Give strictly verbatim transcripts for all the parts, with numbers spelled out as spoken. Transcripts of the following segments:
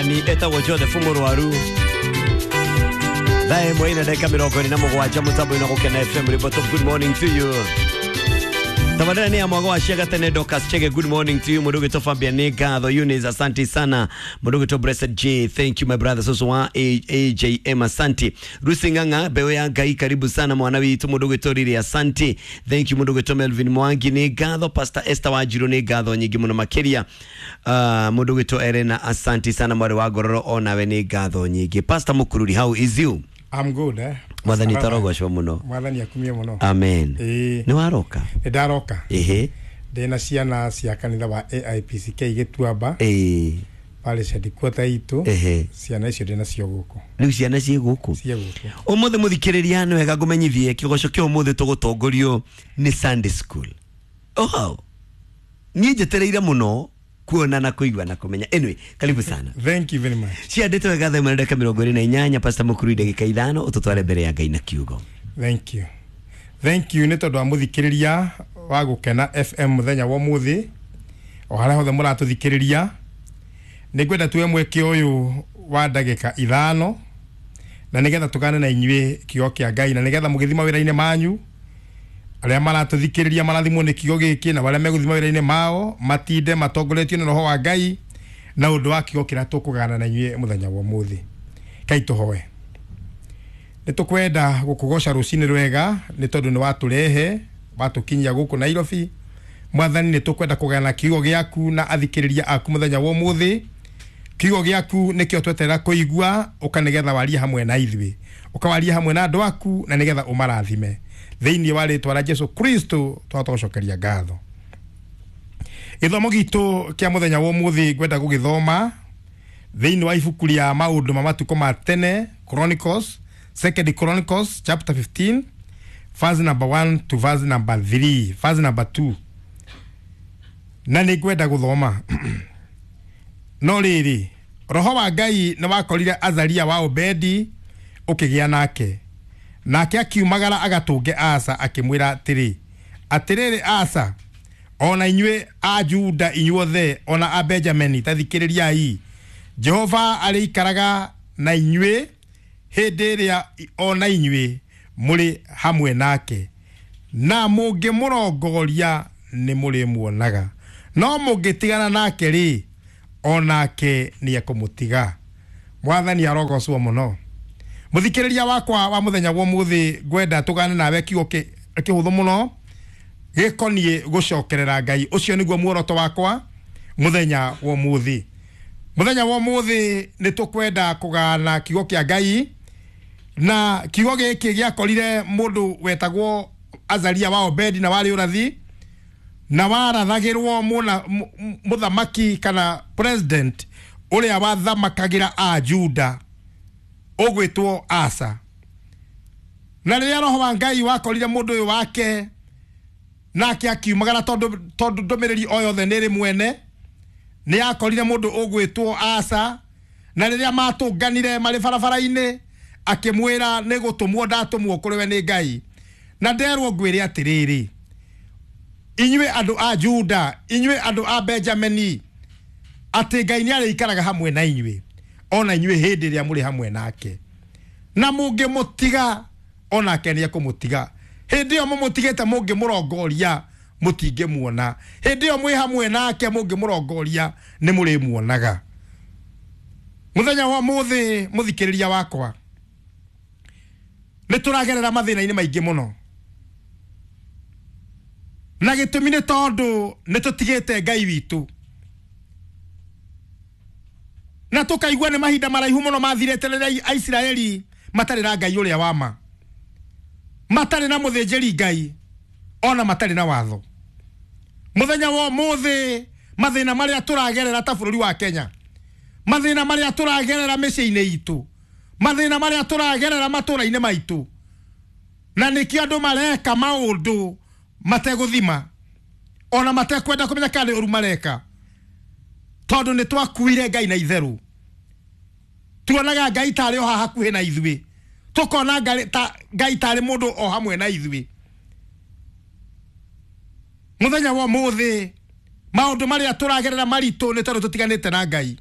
Ni etagwo Joseph Mũrwaru. Thaa ĩmwe ina ndagĩka mĩrongo ĩrĩ na mũgwanja mũtambo-inĩ wa Gũkena F M. Ribot of good morning to you. Tabarĩra nĩ ya mwago wa Ciaga tene Dorcas Chege, good morning to you. Mũndũ ũgĩtwo Fabian nĩ ngatho. Eunice, asante sana. Mũndũ ũgĩtwo Blessed J, thank you my brother. Soso wa A J M, asante. Rusi Ng'ang'a, mbeũ ya Ngai, karibu sana mwana witũ. Mũndũ ũgĩtwo Riri, asante. Thank you. Mũndũ ũgĩtwo Melvin Mwangi nĩ ngatho. Pastor Esther Wanjiru nĩ ngatho nyingĩ mũno makĩria. Uh, mũndũ ũgĩtwo Elena, asante sana. Mwarĩ wa Ngororo, onawe nĩ ngatho nyingĩ. Pastor Mũkururi, how is you? I'm good, eh? Mwathani tarogocwo mũno. Mwathani akumie mũno. Amen. Ĩĩ. Nĩ waroka? Nĩ ndaroka. Ĩhĩ. Ndĩna ciana cia kanitha wa A I P C K Gĩtuamba. Ĩĩ. Parish headquarter itũ. Ĩhĩ. Ciana icio ndĩna cio gũkũ. Rĩu ciana ciĩ gũkũ? Ciĩ gũkũ. Ũmũthĩ mũthikĩrĩria nĩ wega ngũmenyithie kĩgoco kĩa ũmũthĩ tũgũtongorio nĩ Sunday school. Oh. Niĩ njetereire mũno kuona na kũigua na kũmenya. Anyway, karibu sana. Thank you very much. Ciandĩtwo wega thaa ĩmwe na ndagĩka mĩrongo ĩrĩ na inyanya. Pastor Mũkururi ndagĩka ithano ũtũtware mbere ya Ngai na kiugo. Thank you. Thank you nĩ tondũ wa mũthikĩrĩria wa Gũkena F M mũthenya wa ũmũthĩ. O harĩa hothe mũratũthikĩrĩria, nĩ ngwenda tuoe mweke ũyũ wa ndagĩka ithano na nĩgetha tũgane na inyuĩ kiugo kĩa Ngai, na nĩgetha mũgĩthiĩ mawĩra-inĩ manyu, arĩa maratũthikĩrĩria marathimwo nĩ kiugo gĩkĩ, na arĩa megũthiĩ mawĩra-inĩ mao matinde matongoretio nĩ Roho wa Ngai na ũndũ wa kiugo kĩrĩa tũkũgana na inyuĩ mũthenya wa ũmũthĩ. Kai tũhoe. Nĩ tũkwenda gũkũgoca rũcinĩ rwega nĩ tondũ nĩ watũrehe watũkinyia gũkũ Nairobi. Mwathani, nĩ tũkwenda kũgana kiugo gĩaku na athikĩrĩria aku mũthenya wa ũmũthĩ. Kiugo gĩaku nĩkĩo tweterera kũigua, ũka nĩgetha warie hamwe na ithuĩ, ũkawarie hamwe na andũ aku, na nĩgetha ũmarathime. Thĩinĩ wa rĩtwa rĩa Jesu Kristo twahota gũcokeria ngatho. Gĩthomo gitũ kĩa mũthenya wa ũmũthĩ ngwenda gũgĩthoma thĩinĩ wa ibuku rĩa maũndũ ma matukũ ma tene, Chronicles, Second Chronicles chapter fifteen, verse number one to verse number three, verse number two. Na nĩ ngwenda gũthoma. No rĩrĩ, Roho wa Ngai nĩ wakorire Azaria wa Obedi ũkĩgĩa nake. Nake akiumagara agatũnge Asa akĩmwĩra atĩrĩ, atĩrĩrĩ Asa, ona inyuĩ a Juda inyuothe, ona a Benjamini, ta thikĩrĩriai. Jehova arĩikaraga na inyuĩ hĩndĩ ĩrĩa ona inyuĩ mũrĩ hamwe nake, na mũngĩmũrongoria nĩ mũrĩmuonaga, no mũngĩtigana nake rĩ, onake nĩ ekũmũtiga. Mwathani arogocwo mũno. Mũthikĩrĩria wakwa wa mũthenya wa ũmũthĩ, ngwenda tũgane nawe kiugo kĩhũthũ mũno gĩkoniĩ gũcokerera Ngai. Ũcio nĩguo muoroto wakwa mũthenya wa ũmũthĩ. Mũthenya wa ũmũthĩ nĩ tũkwenda kũgana kiugo kĩa Ngai, na kiugo gĩkĩ gĩakorire mũndũ wetagwo Azaria wa Obedi na warĩ ũrathi, na warathagĩrwo mũthamaki kana president ũrĩa wathamakagĩra a Juda ũgwĩtwo Asa. Na rĩrĩa Roho wa Ngai wakorire mũndũ ũyũ wake, nake akiumagara tondũ tondũ ndũmĩrĩri o yothe nĩ ĩrĩ mwene, nĩ akorire mũndũ ũgwĩtwo Asa. Na rĩrĩa matũnganire marĩ barabara-inĩ, akĩmwĩra nĩ gũtũmwo ndatũmwo kũrĩ we nĩ Ngai, na nderwo ngwĩre atĩrĩrĩ, inyuĩ andũ a Juda, inyuĩ andũ a Benjamini, atĩ Ngai nĩ arĩikaraga hamwe na inyuĩ, ona inyuĩ hĩndĩ ĩrĩa mũrĩ hamwe nake, na mũngĩmũtiga onake nĩ ekũmũtiga. Hĩndĩ ĩyo mũmũtigĩte mũngĩmũrongoria mũtingĩmuona, hĩndĩ ĩyo mwĩ hamwe nake mũngĩmũrongoria nĩ mũrĩmuonaga. Mũthenya wa ũmũthĩ mũthikĩrĩria wakwa, nĩ tũragerera mathĩna-inĩ maingĩ mũno, na gĩtũmi nĩ tondũ nĩ tũtigĩte Ngai witũ, na tũkaigua nĩ mahinda maraihu mũno mathirĩte rĩrĩa Aisiraeli matarĩ na Ngai ũrĩa wa ma, matarĩ na mũthĩnjĩri Ngai, ona matarĩ na watho. Mũthenya wa ũmũthĩ mathĩna marĩa tũragerera ta bũrũri wa Kenya, mathĩna marĩa tũragerera mĩciĩ-inĩ itũ, mathĩna marĩa tũragerera matũũra-inĩ maitũ, na nĩkĩo andũ mareka maũndũ mategũthima, ona matekwenda kũmenya kana nĩ ũru mareka, tondũ nĩ twakuire Ngai na itherũ. Tuonaga Ngai tarĩ o haha hakuhĩ na ithuĩ, tũkona Ngai tarĩ mũndũ o hamwe na ithuĩ. Mũthenya wa ũmũthĩ maũndũ marĩa tũragerera maritũ nĩ tondũ tũtiganĩte na Ngai.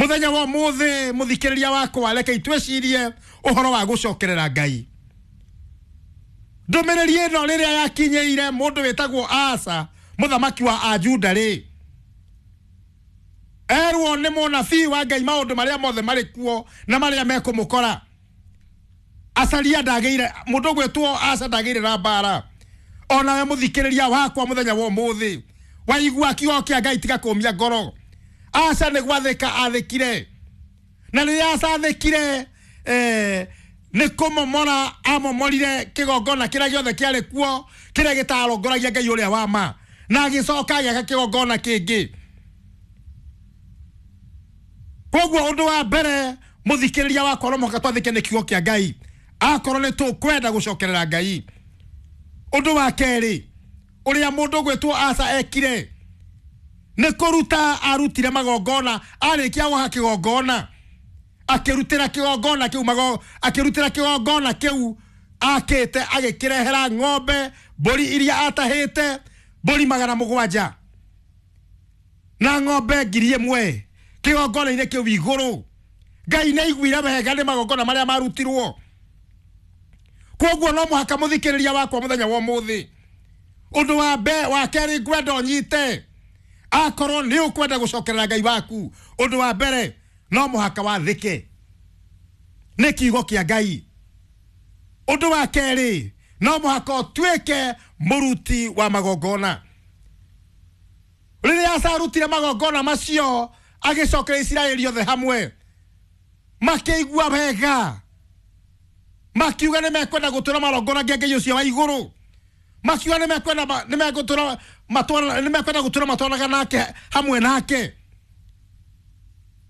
Muthenya wa muthi muthikiriria wakwa reke itwecirie uhoro wa gucokerera Ngai. Ndumiriri ino riria yakinyeire mundu witagwo Asa muthamaki wa Ajuda ri erwo ni munabii wa Ngai maundu maria mothe mari kuo na maria mekumukora. Asaria ndageire mundu gwitwo Asa ndageire na mbara. Ona we muthikiriria wakwa muthenya wa muthi waigua kiugo kia Ngai tiga kumia ngoro. Asa ni gwathika athikire, na riria Asa athikire eh ni kumomora amomorire kigongona kiria giothe kiari kuo kiria gitarongoragia Ngai uria wa ma, na agicoka agiaka kigongona kingi. Koguo undu wa mbere muthikiriria wakwa no muhaka twathike ni kiugo kia Ngai akorwo ni tukwenda gucokerera Ngai. Undu wa keri uria mundu gwitwo Asa ekire ni kuruta arutire magongona. Arikia gwaha kigongona akirutira kigongona kiu mago akirutira kigongona kiu akite agikirehera ng'ombe mburi iria atahite mburi magana mugwanja na ng'ombe ngiri imwe kigongona-inĩ kiu iguru. Ngai nĩ aiguire wega nĩ magongona maria marutirwo. Koguo no muhaka muthikiriria wakwa muthenya wa umuthi undu wa mbe wa keri ngwenda unyite akorwo ni ukwenda gucokerera Ngai waku undu wa mbere no muhaka wathike ni kiugo kia Ngai. Undu wa keri no muhaka utuike muruti wa magongona. Riria Asa arutire magongona macio agicokera Isiraeli othe hamwe makiigua wega makiuga ni mekwenda gutura marongoragia Ngai ucio wa iguru, makiuga ni mekwenda ni megutura matwana ni mekwenda gutura matwanaga nake hamwe nake.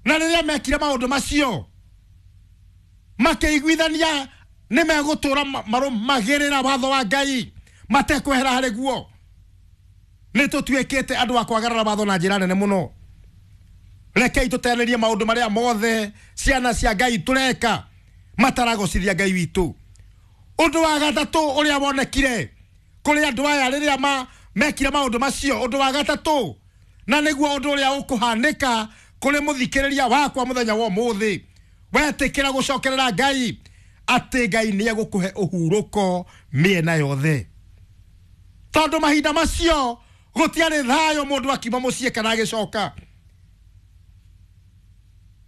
Na riria mekire maundu macio makiiguithania ni megutura marumagirira watho wa Ngai matekwehera hari guo. Ni tutuikite andu a kwagarara watho na njira nene muno. Rekei tutererie maundu maria mothe ciana cia Ngai tureka mataragocithia Ngai witu. Undu wa gatatu uria wonekire kuri andu aya riria ma mekire maundu macio, undu wa gatatu na niguo undu uria ukuhanika kuri muthikiriria wakwa muthenya wa umuthi wetikira gucokerera Ngai ati Ngai ni egukuhe uhuruko miena yothe. Tondu mahinda macio gutiari thayo mundu akiuma mucii kana agicoka.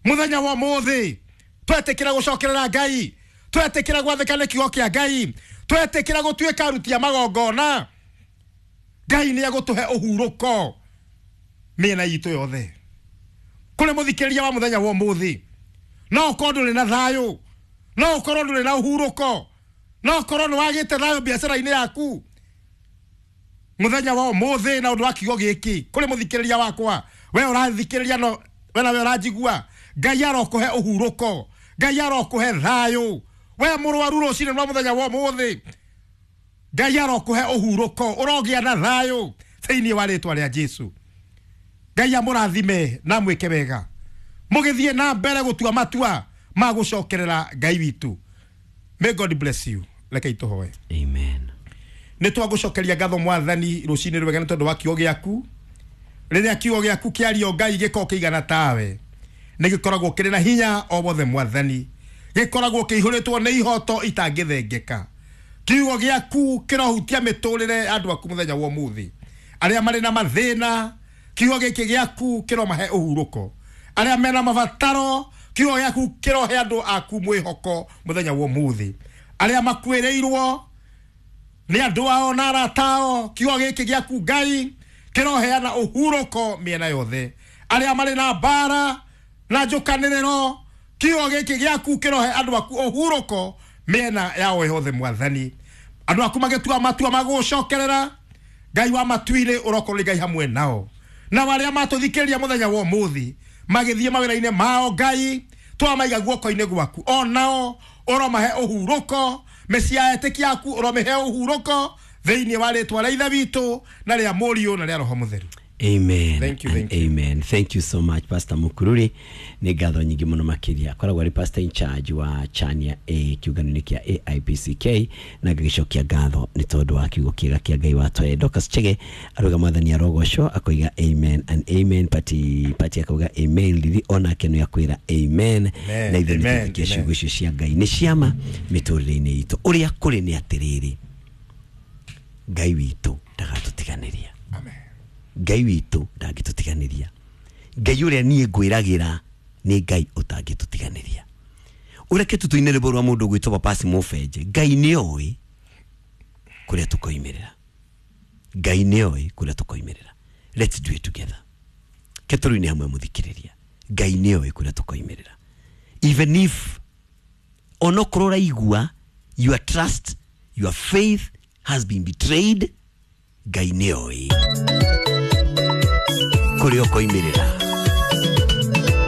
Muthenya wa umuthi twetikira gucokerera Ngai, twetikira gwathika ni kiugo kia Ngai, twetikira gutuika aruti a magongona, Ngai ni egutuhe uhuruko miena itu yothe. Kuri muthikiriria wa muthenya wa umuthi no ukorwo nduri na thayo, no ukorwo nduri na uhuruko, no ukorwo ni wagite thayo biacara-ini yaku, muthenya wa umuthi na undu wa kiugo giki kuri muthikiriria wakwa we urathikiriria no we nawe uranjigua, Ngai arokuhe uhuruko, Ngai arokuhe thayo. We murwaru rucini rwa muthenya wa umuthi, Ngai arokuhe uhuruko, urogia na thayo thiini wa ritwa ria Jesu. Ngai amurathime na mwike wega mugithie na mbere gutua matua ma gucokerera Ngai witu. May God bless you. Reke ituhoe. Amen. Ni twagucokeria ngatho Mwathani rucini rwega ni tondu wa kiugo giaku. Riria kiugo giaku kiario Ngai giko kiigana tawe ni gikoragwo kiri na hinya o wothe Mwathani, gikoragwo kiihuritwo ni ihoto itangithengeka. Kiugo giaku kirohutia miturire andu aku muthenya wa umuthi, aria mari na mathina kiugo giki giaku kiromahe uhuruko, aria mena mabataro kiugo giaku kirohe andu aku mwihoko muthenya wa umuthi, aria makuireirwo ni andu ao na arata ao kiugo giki giaku Ngai kiroheana uhuruko miena yothe, aria mari na mbara na njukaniriro kiugo giki giaku kirohe andu aku uhuruko miena yao yothe Mwathani. Andu aku magitua matua magucokerera Ngai wa matuire urokorwo Ngai hamwe nao, na aria matuthikiriria muthenya wa umuthi magithie mawira-ini mao Ngai twamaiga guoko-ini gwaku, onao uromahe uhuruko, mĩciĩ ya etĩkia aku uromihe uhuruko thiini wa ritwa ria Ithe witũ na ria Mũriũ na ria Roho Mũtheru. Amen. Thank you, and thank you. Amen. Thank you so much, Pastor Mukururi. Nĩ ngatho nyingĩ mũno makĩria. Akoragwo arĩ pastor in charge wa Chania A kĩũngano-inĩ kĩa A I P C K, na ngagĩcokia ngatho nĩ tondũ wa kiugo kĩega kĩa Ngai watwae. Dorcas Chege arauga mwathani arogocwo, akoiga amen and amen. Pati Pati akauga amen. Lili onake nĩ akwĩra amen. Amen, Na ithuĩ nĩ amen, twĩtĩkia amen. ciugo icio cia Ngai nĩ ciama mĩtũrĩre-inĩ itũ. Ũrĩa kũrĩ nĩ atĩrĩrĩ, Ngai witũ ndagatũtiganĩria. Amen. Ngai witũ ndangĩtũtiganĩria. Ngai ũrĩa niĩ ngwĩragĩra nĩ Ngai ũtangĩtũtiganĩria. Ũreke tũtũine rwĩmbo rwa mũndũ ũgwĩtwo Papasi Mũbenje. Ngai nĩ oĩ kũrĩa tũkoimĩrĩra. Ngai nĩ oĩ kũrĩa tũkoimĩrĩra. Let's do it together. Ke tũrũine hamwe, mũthikĩrĩria. Ngai nĩ oĩ kũrĩa tũkoimĩrĩra, even if onokorwo ũraigua your trust, your faith has been betrayed, Ngai nĩ oĩ kũrĩa ũkoimĩrĩra.